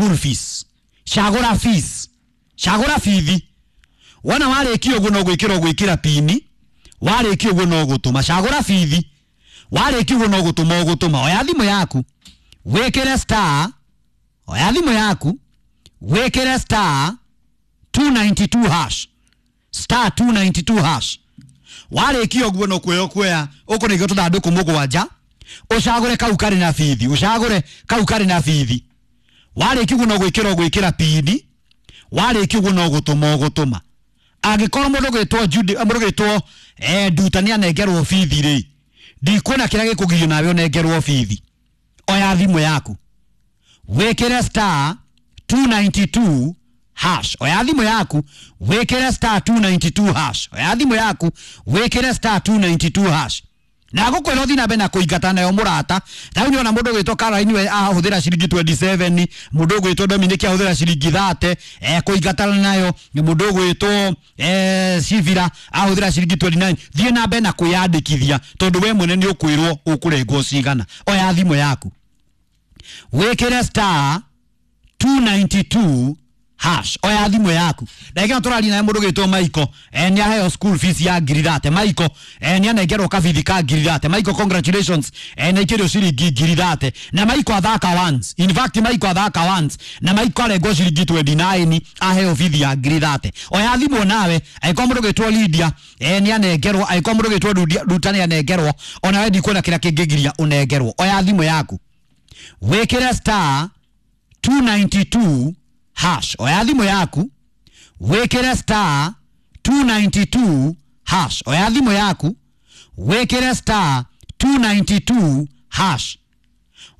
School fees, cagũra fees, cagũra bithi. Wona warĩkia ũguo no gwĩkĩra ũgwĩkĩra pini, warĩkia ũguo no gũtũma. Cagũra bithi, warĩkia ũguo no gũtũma ũgũtũma. Oya thimũ yaku wĩkĩre star, oya thimũ yaku wĩkĩre star 292 hash, star 292 hash. Warĩkia ũguo no kuoya kuoya ũkũnengwo tũthandũkũ mũgwanja, ũcagũre kau karĩ na bithi, ũcagũre kau karĩ na bithi. Warĩkia ũguo no gwĩkĩra ũgwĩkĩra pini, warĩkia ũguo no gũtũma ũgũtũma. Angĩkorwo mũndũ gwĩtwo Judy, mũndũ gwĩtwo Nduta nĩ anengerwo bithi rĩ, ndikuona kĩrĩa gĩkũgirio nawe ũnengerwo bithi. Oya thimũ yaku wĩkĩre star 292 hash. Oya thimũ yaku wĩkĩre star 292 hash. Oya thimũ yaku wĩkĩre star 292 hash. Na gũkwĩra ũthiĩ na mbere na kũingata nayo mũrata. Ta rĩu nĩwona mũndũ ũgwĩtwo Caroline we ahũthĩra ciringi 27, mũndũ ũgwĩtwo Dominic ahũthĩra ciringi 30, kũingatana nayo. Mũndũ ũgwĩtwo Sivira ahũthĩra ciringi 29. Thiĩ na mbere na kwĩyandĩkithia tondũ we mwene nĩ ũkwĩrwo ũkũrengwo cigana. Oya thimũ yaku wĩkĩre star 292 hash. Oya thimũ yaku. Ndagĩka ĩno tũraria naye mũndũ ũgwĩtwo Michael, nĩ aheo school fees ya ngiri thate. Michael, nĩ anengerwo kabithi ka ngiri thate. Michael, congratulations, nĩ aikĩrio ciringi ngiri thate. Na Michael athaka once, in fact Michael athaka once na Michael arengwo ciringi 29, aheo bithi ya ngiri thate. Oya thimũ nawe, angĩkorwo mũndũ ũgwĩtwo Lydia, nĩ anengerwo, angĩkorwo mũndũ ũgwĩtwo Nduta nĩ anengerwo, onawe ndikuona kĩrĩa kĩngĩgiria ũnengerwo. Oya thimũ yaku wĩkĩre star 292 hash. Oya thimũ yaku wĩkĩre star 292 hash. Oya thimũ yaku wĩkĩre star 292 hash.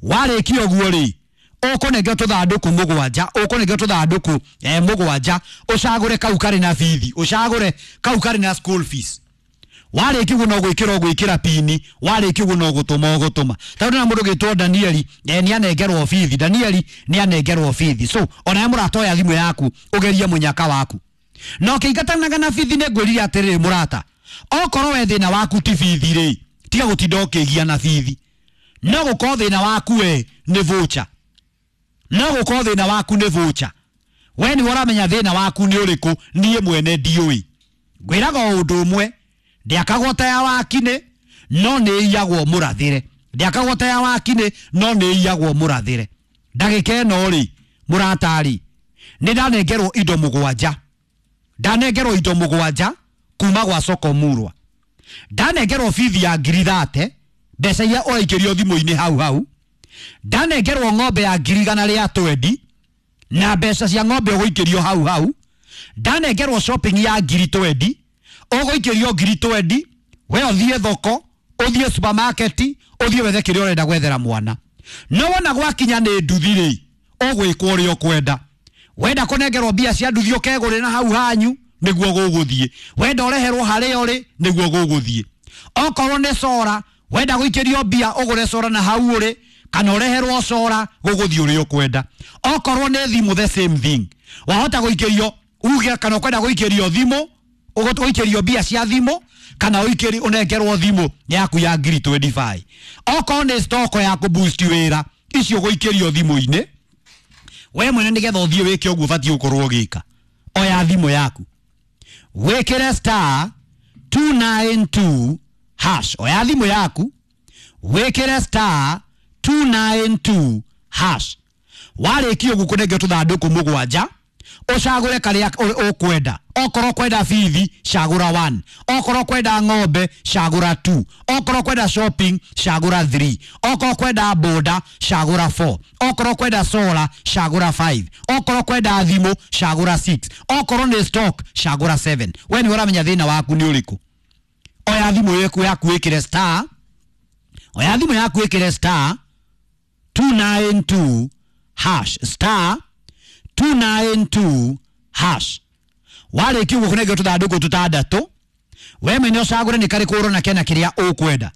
Warĩkia ũguo rĩ, ũkũnengwo tũthandũkũ mũgwanja, ũkũnengwo tũthandũkũ mũgwanja, ũcagũre kau karĩ na bithi, ũcagũre kau karĩ na school fees. Warĩkia ũguo no gwĩkĩra ũgwĩkĩra pini, warĩkia ũguo no gũtũma ũgũtũma. Tondũ na mũndũ ũgwĩtwo Danieli, nĩ anengerwo bithi. Danieli nĩ anengerwo bithi. So onawe mũrata, oya thimũ yaku ũgerie mũnyaka waku. Na ũkĩingatanaga na bithi, nĩ ngwĩrire atĩrĩrĩ mũrata, okorwo we thĩna waku ti bithi rĩ, tiga gũtinda ũkĩgia na bithi. No gũkorwo thĩna waku we nĩ voucher, no gũkorwo thĩna waku nĩ voucher. We nĩwe ũramenya thĩna waku nĩ ũrĩkũ, niĩ mwene ndiũĩ. Ngwĩraga o ũndũ ũmwe, ndĩakagwo ta ya wakinĩ no nĩ iyagwo mũrathĩre. Ndĩakagwo ta ya wakinĩ no nĩ iyagwo mũrathĩre. Ndagĩka ĩno rĩ mũrata rĩ, nĩ ndanengerwo indo mũgwanja, ndanengerwo indo mũgwanja kuma gwa Soko Murwa. Ndanengerwo bithi ya ngiri thate, mbeca iria ũraikĩrio thimũ-inĩ hau hau. Ndanengerwo ng'ombe ya ngiri igana rĩa twendi, na mbeca cia ng'ombe ũgũikĩrio hau hau. Ndanengerwo shopping ya ngiri twendi, ũgũikĩrio ngiri twendi, we ũthiĩ thoko, ũthiĩ supermarket, ũthiĩ wethe kĩrĩa ũrenda gwethera mwana. No wona gwakinya nĩ nduthi rĩ, ũgwĩkwo ũrĩa ũkwenda. Wenda kũnengerwo mbia cia nduthi ũkegũrĩra hau hanyu, nĩguo gũgũthiĩ. Wenda ũreherwo harĩa ũrĩ, nĩguo gũgũthiĩ. Okorwo nĩ cora, wenda gũikĩrio mbia ũgũre cora na hau ũrĩ, kana ũreherwo cora, gũgũthiĩ ũrĩa ũkwenda. Okorwo nĩ thimũ, the same thing. Wahota gũikĩrio uge kana ũkwenda gũikĩrio thimũ, ũgũikĩrio mbia cia thimũ, kana ũikĩrio ũnengerwo thimũ yaku ya ngiri 25. Okorwo nĩ stock ya kũboost wĩra, icio ũgũikĩrio thimũ-inĩ. We mwene nĩgetha ũthiĩ wĩke ũguo ũbatiĩ gũkorwo ũgĩka. Oya thimũ yaku wĩkĩre star 292 hash. Oya thimũ yaku wĩkĩre star 292 hash. Warĩkia ũguo kũnengwo tũthandũkũ mũgwanja, ũcagũre karĩa ũkwenda. Okorwo kwenda bithi, cagũra 1. Okorwo kwenda ng'ombe, cagũra 2. Okorwo kwenda shopping, cagũra 3. Okorwo kwenda boda, cagũra 4. Okorwo kwenda solar, cagũra 5. Okorwo kwenda thimũ, cagũra 6. Okorwo nĩ stock, cagũra 7. We nĩwe ũramenya thĩna waku nĩ ũrĩkũ. Oya thimũ yaku wĩkĩre star, oya thimũ yaku wĩkĩre star 292 hash, star 292 hash. Warĩkia ũguo kũnengwo tũthandũkũ tũtandatũ, we mwene ũcagũre nĩ karĩkũ ũrona kena kĩrĩa ũkwenda.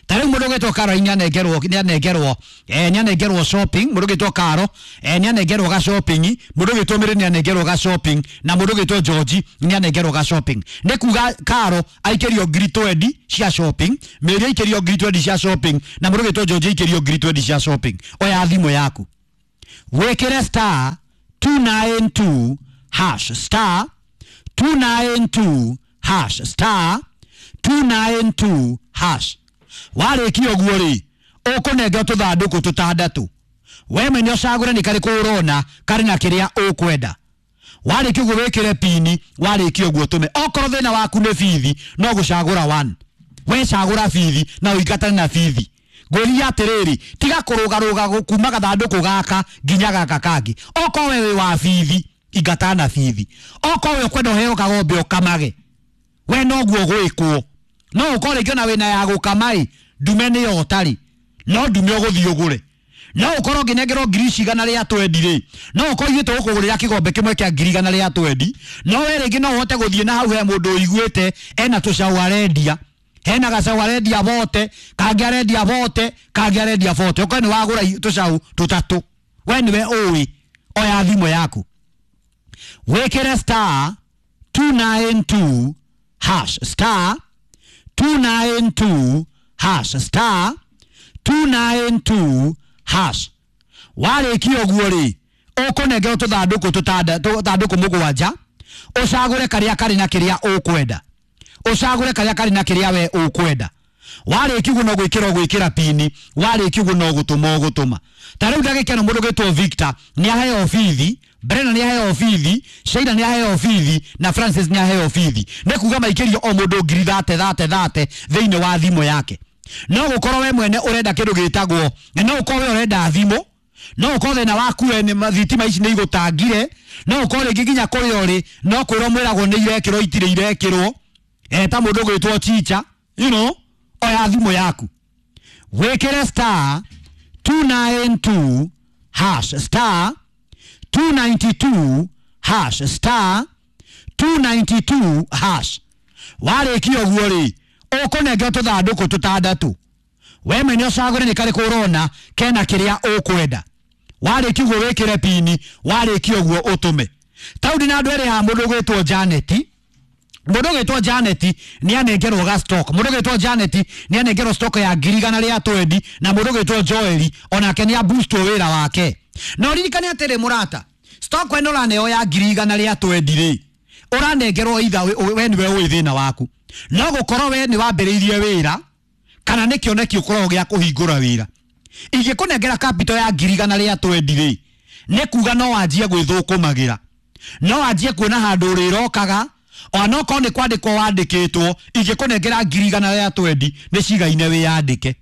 Ta rĩu mũndũ ũgwĩtwo Caroline nĩanengerwo, nĩanengerwo, nĩanengerwo shopping. Mũndũ ũgwĩtwo Caro, nĩanengerwo ga shopping. Mũndũ ũgwĩtwo Mary nĩanengerwo ga shopping, na mũndũ ũgwĩtwo George nĩanengerwo ga shopping. Nĩ kuga Caro aikĩrio ngiri 20 cia shopping, Mary aikĩrio ngiri 20 cia shopping, na mũndũ ũgwĩtwo George aikĩrio ngiri 20 cia shopping. Oya thimũ yaku Wĩkĩre star 292 hash, star 292 hash, star 292 hash. Warĩkia ũguo rĩ, ũkũnengera tũthandũkũ tũtandatũ. We mwene ũcagũre nĩ karĩkũ ũrona karĩ na kĩrĩa ũkwenda. Warĩkia ũguo wĩkĩre pini, warĩkia ũguo ũtũme. Okorwo thĩna waku nĩ bithi, no gũcagũra one. We cagũra bithi na ũingatane na bithi. Ngũria atĩrĩrĩ, tiga kũrũgarũga kuma gathandũkũ gaka nginya gaka kangĩ. Okorwo we wĩ wa bithi, ingatana na bithi. Okorwo we ũkwenda ũheo kagombe ũkamage, we noguo gwĩkwo. No ũkorwo rĩngĩ ona wĩna ya gũkama ĩ, ndume nĩyo ũtarĩ, no ndume ũgũthiĩ ũgũre. No ũkorwo ũngĩnengerwo ngiri cigana rĩa twendi rĩ, no ũkorwo ithuĩ tũgũkũgũrĩra kĩgombe kĩmwe kĩa ngiri igana rĩa twendi, no we rĩngĩ no ũhote gũthiĩ na hau he mũndũ ũiguĩte ena tũcaũ arendia, hena gacaũ arendia bote, kangĩ arendia bote, kangĩ arendia bote. Ũkorwo nĩ wagũra tũcaũ tũtatũ, we nĩwe ũĩ. Oya thimũ yaku, wĩkĩre star 292 hash, star 292 hash, star 292 hash. Warĩkia ũguo rĩ, ũkũnengerwo tũthandũkũ tũthandũkũ mũgwanja, ũcagũre karĩa karĩ na kĩrĩa ũkwenda. Ũcagũre karĩa karĩ na kĩrĩa we ũkwenda. Warĩkia ũguo no gwĩkĩra ũgwĩkĩra pini, warĩkia ũguo no gũtũma ũgũtũma. Ta rĩu ndagĩka ĩno mũndũ ũgwĩtwo Victor nĩ aheo bithi, Brenda nĩ aheo bithi, Sheila nĩ aheo bithi na Francis nĩ aheo bithi. Nĩ kuga maikĩrio o mũndũ ngiri thate thate thate thĩinĩ wa thimũ yake. No gũkorwo we mwene ũrenda kĩndũ gĩtagwo, no ũkorwo we ũrenda thimũ, no ũkorwo thĩna waku we nĩ thitima ici nĩ igũtangire, no ũkorwo rĩngĩ nginya kũrĩa ũrĩ no kwĩrwo mwĩragwo nĩ irekĩrwo itirĩ irekĩrwo, ta mũndũ ũgwĩtwo Chicha, you know, oya thimũ yaku, wĩkĩre star 292 hash, star 292 hash, star 292 hash. Warĩkia ũguo rĩ, ũkũnengerwo tũthandũkũ tũtandatũ. We mwene ũcagũre nĩ karĩkũ ũrona kena kĩrĩa ũkwenda. Warĩkia ũguo wĩkĩre pini, warĩkia ũguo ũtũme. Tau ndĩ na andũ erĩ haha, mũndũ ũgwĩtwo Janet. Mũndũ ũgwĩtwo Janet nĩ anengerwo ga stock. Mũndũ ũgwĩtwo Janet nĩ anengerwo stock ya ngiri igana rĩa twendi, na mũndũ ũgwĩtwo Joel onake nĩ aboostwo wĩra wake. Na ũririkane atĩrĩ mũrata, stock ĩno ũraneo ya ngiri igana rĩa twendi rĩ, ũranengerwo either we nĩwe ũĩ thĩna waku. No gũkorwo we nĩ wambĩrĩirie wĩra kana nĩ kĩoneki ũkoragwo gĩa kũhingũra wĩra. Ingĩkũnengera capital ya ngiri igana rĩa twendi rĩ, nĩ kuga no wanjie gwĩthũkũmagĩra, no wanjie kuona handũ ũrĩrokaga, ona okorwo nĩ kwandĩkwo wandĩkĩtwo. Ingĩkũnengera ngiri igana rĩa twendi nĩ cigaine wĩyandĩke.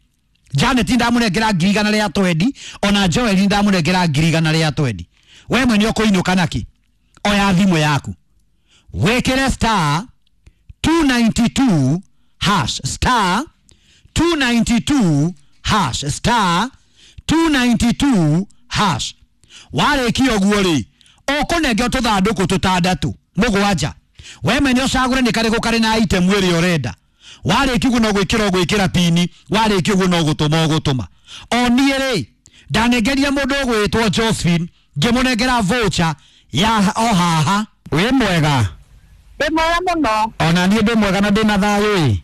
Janet ndamũnengera ngiri igana rĩa twendi, ona Joel ndamũnengera ngiri igana rĩa twendi. We mwene ũkũinũka nakĩ? Oya thimũ yaku, wĩkĩre star 292 hash, star 292 hash, star 292 hash. Warĩkia ũguo rĩ, ũkũnengerwo tũthandũkũ tũtandatũ mũgwanja. We mwene ũcagũre nĩ karĩkũ karĩ na item ĩrĩa ũrenda. Warĩkia ũguo no gwĩkĩra ũgwĩkĩra pini, warĩkia ũguo no gũtũma ũgũtũma. O niĩ rĩ, ndanengeria mũndũ ũgwĩtwo Josephine, ngĩmũnengera voucher ya o haha. Wĩ mwega? Ndĩ mwega mũno. Ona niĩ ndĩ mwega na ndĩna thayũ ĩ.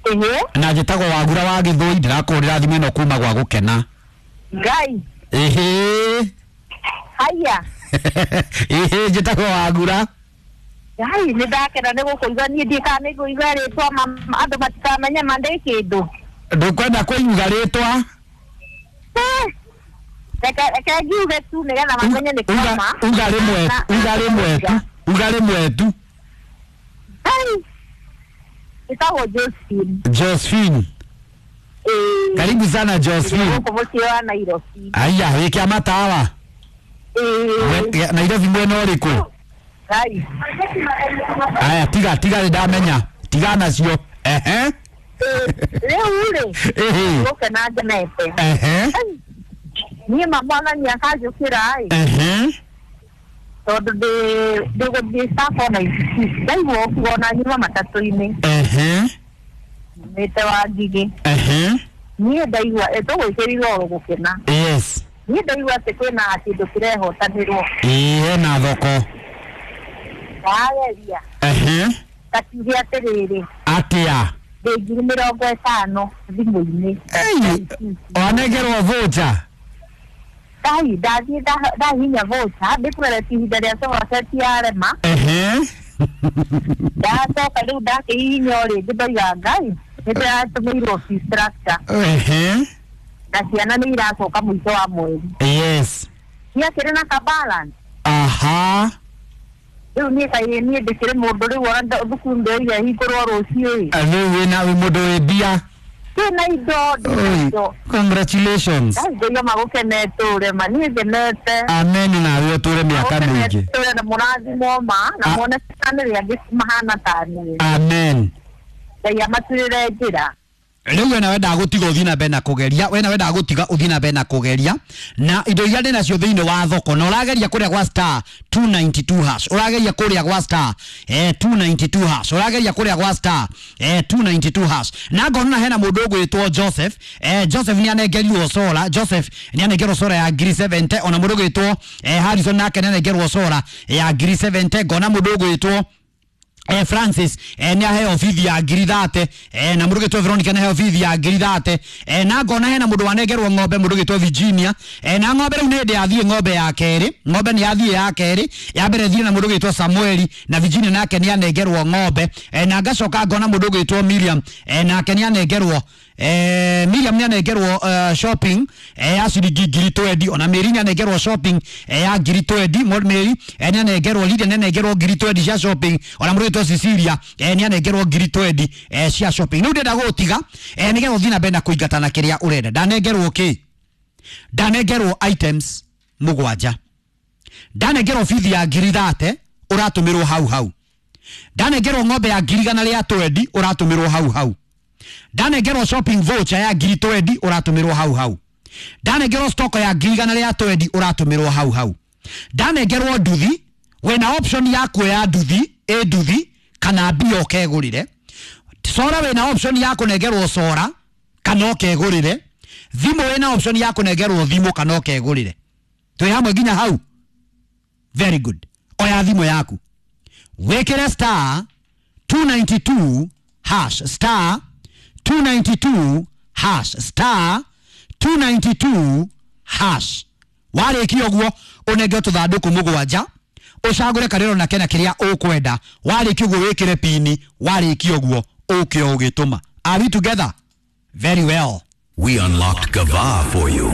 Ĩhĩ. Na njĩtagwo Wagura wa Gĩthũi, ndĩrakũhũrĩra thimũ ĩno kuma gwa gũkena. Ngai. Ĩhĩ. Haya. Ĩhĩ, njĩtagwo Wagura. Ngai, nĩ ndakena nĩ gũkũigua. Niĩ ndiĩ kana nĩ ngũigua rĩtwa, andũ matikamenye ma ndĩ kĩndũ. Ndũkwenda kũiuga rĩtwa? Reke ngiuge tu nĩgetha mamenye nĩ kĩama. Uga rĩmwe, uga rĩmwe tu, uga rĩmwe tu. Ngai. Njĩtagwo Josephine. Josephine. Ĩĩ. Karibu sana Josephine. Gũkũ mũciĩ wa Nairobi. Aya, wĩ kĩama tawa. Ĩĩ. Nairobi mwena ũrĩkũ? Ngai. Aya, tiga, tiga nĩ ndamenya. Tiga nacio. Ehe. Rĩu rĩ, Ĩhĩ. gũkena ngenete. Ehe. Niĩ ma mwathani akanjũkĩra ĩ. Ehe. Tondũ ndĩgũthiĩ Sacco na ici. Ndaigua ũkiuga ona nyuma matatũ-inĩ. Ehe. Nyumĩte wa Ngigĩ. Ehe. Niĩ ndaigua, tũgwĩkĩrirwo oro gũkena. Yes. Niĩ ndaigua atĩ kwĩna kĩndũ kĩrehotanĩrwo. Ĩĩ, hena thoko. Ndageria. Ehe. Ngakiuge atĩrĩrĩ. Atĩa? Ndĩ ngiri mĩrongo ĩtano thimũ-inĩ. Ei, wanengerwo voucher? Ngai ndathiĩ ndahihinya voucher ndĩkũgeretie ihinda rĩa sofa set yarema. Ehe. Ndacoka rĩu ndakĩhihinya o rĩngĩ ndoiga Ngai nĩ ndĩratũmĩirwo fee structure. Ehe. Na ciana nĩ iracoka mũico wa mweri. Yes. Ciakĩrĩ na ka balance. Aha. Rĩu niĩ kaĩ niĩ ndĩkĩrĩ mũndũ rĩu ona thukuru ndĩroiga ĩhingũrwo rũciũ ĩ. Rĩu wĩna wĩ mũndũ wĩ mbia. Ndĩna indo, ndĩna Oi, indo. congratulations. Ngai ngũiga magũkenete ũrĩa ma niĩ ngenete. Amen nawe ũtũre mĩaka mĩingĩ. Ũkenete na mũrathimwo ma na muone bamĩrĩ angĩ mahana ta niĩ. Amen. Ngai amaturĩre njĩra. Rĩu we nawe ndagũtiga ũthiĩ na mbere na kũgeria, we nawe ndagũtiga ũthiĩ na mbere na kũgeria na indo iria ndĩ nacio thĩinĩ wa thoko, na ũrageria kũrĩa gwa star 292 hash, ũrageria kũrĩa gwa star 292 hash, ũrageria kũrĩa gwa star 292 hash. Na ngona hena mũndũ ũgwĩtwo Joseph, Joseph nĩ anengerirwo sora, Joseph nĩ anengerwo sora ya ngiri 70, ona mũndũ ũgwĩtwo Harrison nake nĩ anengerwo sora ya ngiri 70. Ngona mũndũ ũgwĩtwo Francis nĩ aheo bithi ya ngiri 30, na mũndũ ũgĩtwo Veronica nĩ aheo bithi ya ngiri 30, na ngona hena mũndũ wanengerwo ng'ombe, mũndũ ũgĩtwo Virginia, na ng'ombe rĩu nĩ hĩndĩ yathiĩ ng'ombe ya kerĩ, ng'ombe nĩ yathiĩ ya kerĩ, ya mbere ĩthiĩ na mũndũ ũgĩtwo Samueli, na Virginia nake nĩ anengerwo ng'ombe, na ngacoka ngona mũndũ ũgĩtwo Miriam, nake nĩ anengerwo Miriam nĩ anengerwo shopping ya ciringi ngiri 20, ona Mary nĩ anengerwo shopping ya ngiri 20, Mary nĩ anengerwo, Lydia nĩ anengerwo ngiri 20 cia shopping, ona mũndũ ũgĩtwo Cecilia nĩ anengerwo ngiri 20 cia shopping. Rĩu ndĩrenda gũgũtiga nĩgetha ũthiĩ na mbere na kũingatana kĩrĩa ũrenda. Ndanengerwo kĩ? Ndanengerwo items mũgwanja, ndanengerwo bithi ya ngiri 30 ũratũmĩrwo hau hau, ndanengerwo ng'ombe ya ngiri igana rĩa 20 ũratũmĩrwo hau hau, ndanengerwo shopping voucher ya ngiri 20 ũratũmĩrwo hau hau, ndanengerwo stock ya ngiri igana rĩa 20 ũratũmĩrwo hau hau, ndanengerwo nduthi, wĩna option ya kuoya nduthi ĩ nduthi kana mbia ũkegũrĩre, sora wĩna option ya kũnengerwo sora kana ũkegũrĩre, thimũ wĩna option ya kũnengerwo thimũ kana ũkegũrĩre. Twĩ hamwe nginya hau? Very good. Oya thimũ yaku wĩkĩre star 292 hash, star 292 hash, star 292 hash. Warĩkia ũguo ũnengere tũthandũkũ mũgwanja, ũcagũre karĩro na kena kĩrĩa ũkwenda, warĩkia ũguo wĩkĩre pini, warĩkia ũguo ũke ũgĩtũma. Are we together? Very well. We unlocked Gava for you.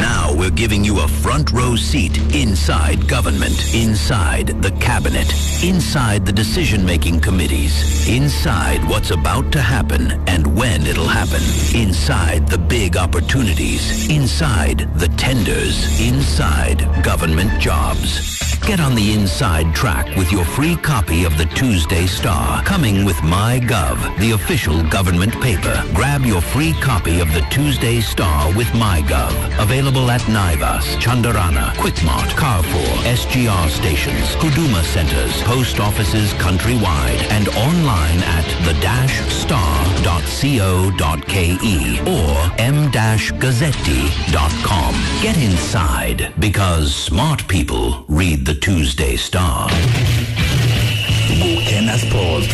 Now we're giving you a front row seat inside government, inside the cabinet, inside the decision-making committees, inside what's about to happen and when it'll happen, inside the big opportunities, inside the tenders, inside government jobs. Get on the inside track with your free copy of the Tuesday Star, coming with MyGov, the official government paper. Grab your free copy of the Tuesday Star with MyGov. Available at Naivas, Chandarana, Quickmart, Carrefour, SGR stations, Huduma centers, post offices countrywide, and online at the-star.co.ke or m-gazzetti.com. Get inside, because smart people read the Tuesday Star. Gukena Sports.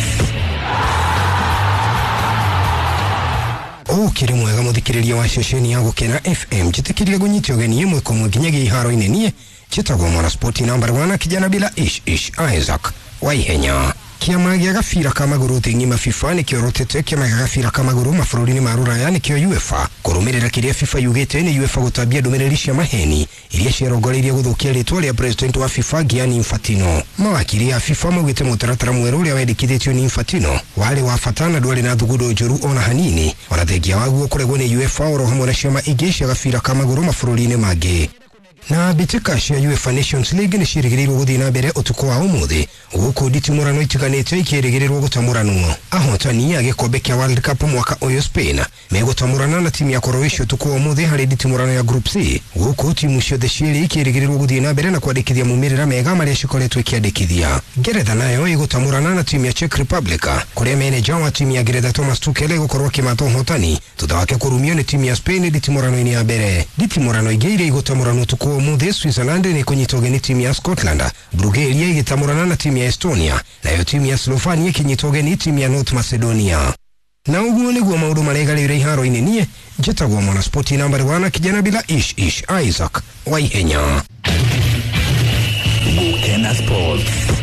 Ukiri mwega muthikiriria wa ceceni ya Gukena FM, njitikirie gunyitio ũgeni ĩmwe kwa ĩmwe nginyagia iharo-inĩ. Niĩ njĩtagwo mwana sport number 1 kijana bila ish ish Isaac Waihenya. Kĩama gĩa gabira ka magũrũ thĩ ng'ima FIFA nĩkĩorotete kĩama gĩa gabira ka magũrũ mabũrũri-inĩ ma Rũraya nĩkĩo UEFA kũrũmĩrĩra kĩrĩa FIFA yugĩte nĩ UEFA gũtambia ndũmĩrĩri cia maheni iria ciarongoreirie gũthũkia rĩtwa rĩa president wa FIFA Gianni Infantino. Mawakiri a FIFA maugĩte mũtaratara mwerũ ũrĩa wendekithĩtio nĩ Infantino warĩ wa bata na ndwarĩ na thugundo njũru ona hanini, ona thengia waguo kũregwo nĩ UEFA oro hamwe na ciama ingĩ cia gabira ka magũrũ mabũrũri-inĩ mangĩ. Na mbĩtĩka cia UEFA Nations League nĩ ciĩrĩgĩrĩirwo gũthiĩ na mbere ũtukũ wa ũmũthĩ gũkũ nditimũrano itiganĩte ikĩrĩgĩrĩrwo gũtamũranwo. Ahotani a gĩkombe kĩa World Cup mwaka ũyũ Spain megũtamũrana na timu ya Croatia ũtukũ wa ũmũthĩ harĩ nditimũrano ya Group C, gũkũ timu ciothe cierĩ ikĩrĩgĩrĩrwo gũthiĩ na mbere na kwandĩkithia maumĩrĩra mega marĩa cikoretwo ikĩandĩkithia. Ngeretha nayo ĩgũtamũrana na timu ya Czech Republic kũrĩa meneja wa timu ya Ngeretha Thomas Tuchel egũkorwo akĩmatha ũhotani thutha wake kũrumio nĩ timu ya Spain nditimũrano-inĩ ya mbere. Nditimũrano ingĩ iria igũtamũranwo ũtukũ wa ũmũthĩ, Switzerland nĩ kũnyita ũgeni timu ya Scotland, Bulgaria ĩgĩtamũrana na timu ya Estonia, nayo timu ya Slovenia ĩkĩnyita ũgeni timu ya North Macedonia. Na ũguo nĩguo maũndũ maregarĩire iharo-inĩ. Niĩ njĩtagwo Mwanaspoti nambari wana, kijana bila ish ish, Isaac Waihenya. Gukena Sports.